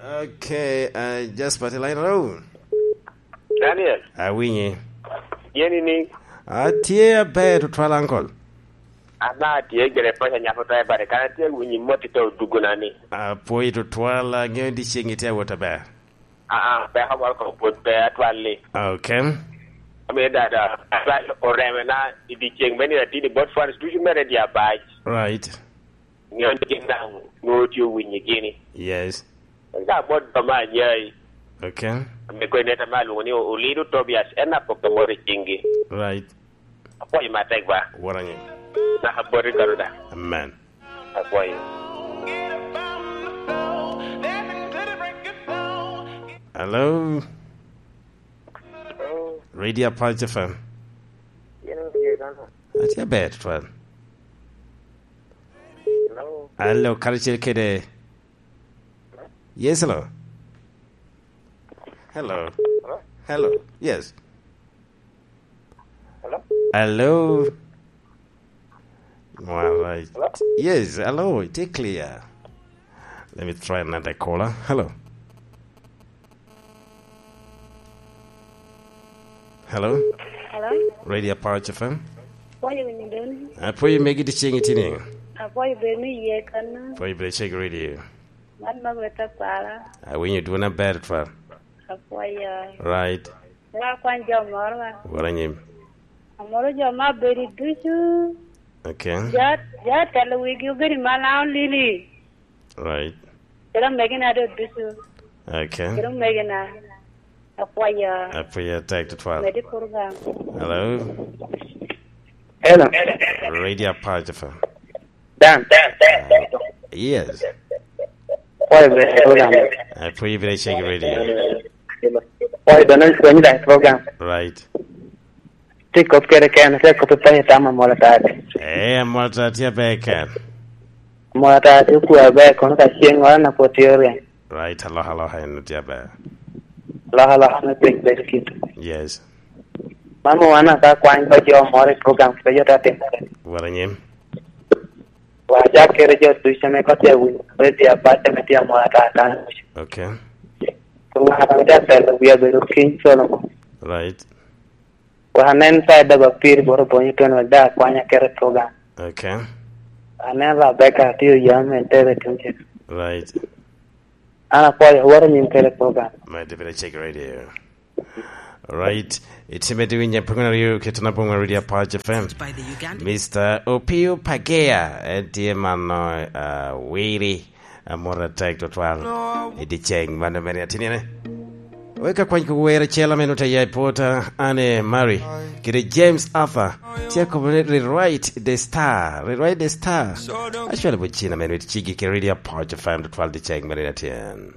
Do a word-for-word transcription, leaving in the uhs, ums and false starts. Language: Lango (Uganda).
Okay, uh, Jasper, the line, hello. Daniel. Awinyi. Yeni ni? Atye aber tutwal, uncle. Ana tye gire paca nyako to ebare, kana tye winyi mot ito dugo na ni. Apwoyi tutwal, angeyo di ceng itye awot aber. Ah, ah, pe awal ko pwod pe atwal ni. Okay. Ami dada, atwal oreme na i di ceng meni atini bot fans ducu mere di abac. Right. Ngeyo ni gin daŋ nwoŋo tye owinyo gini. Yes. En ka bot jo me anyai. Okay. Ame kwe neta me alwoŋo ni Olido Tobias, en apoko mot i ciŋgi. Right. Apwoyo matek ba. Wora ni. Naka boti kano da. Amen. Apwoyo. Hello. Radio Punch F M. Atye aber, twal. Hello, karacel kede. Yes, hello. Hello. Hello. Yes. Hello. Hello. All right. Hello. Yes, hello. It is clear. Let me try another caller. Hello. Hello. Hello. Radio Pouch F M. Apwoyo winyo doni. Apwoyo megi di ceng itini. Apwoyo bed ni iye kanna. Apwoyo bed ceg radio. Man ma weta kwara. Awinyo dwona ber twal. Apwoyo. Right. Era kwany jo moro ba. Wora nyim. Amoro jo ma bedo ducu. Okay. Jo, jo telo wigi obedo ma lao lili. Right. Kede omegina do ducu. Okay. Kede omegina. Apwoyo. Apwoyo tek tutwal. Medi program. Hello. Hello. Radio Pouch F M. Dan. Uh, yes. Apwoyo be program. Apwoyo be check radio. Apwoyo be non kwenye dan program. Right. Tye kop kede ken, tye kop pe itamo amol atati. Eh, amol atati tye aber ken. Amol atati okwa aber kono ka ceng ŋolo na pwod tye orieny. Right, aloha aloha en tye aber. Aloha aloha me piny bedo kit. Yes. Mano wan aka kwany ko jo moro i program pe jo ta timore. Wara nyim. Wa jak kede jo ducu ame ko tye winyo radio abac ame tye amol atata. Okay. Ŋat ame tye atelo wia bedo King Solomon. Right. Wa anen sa da ba piri boro bonyo twen wek da akwanya kede program. Okay. Anen Rebecca tye oyam en tere tuŋ cen. Right. An apwoyo, woro nyim kede program. My David check radio. Right. It's me doing a program you get na program radio Pouch F M. Mister Opio Pagea, en tye mano, uh, wiri. Amor atek tutwal. I di ceng mano mere atinine. Wek akwany ko wer acel ame nut aya i pwota, Anne Mary, kede James Arthur. Tye akobo ni Rewrite the Star. Rewrite the Star. Acwalo bot cina me nut cigi kede Radio Pouch F M tutwal di ceng mano atyen.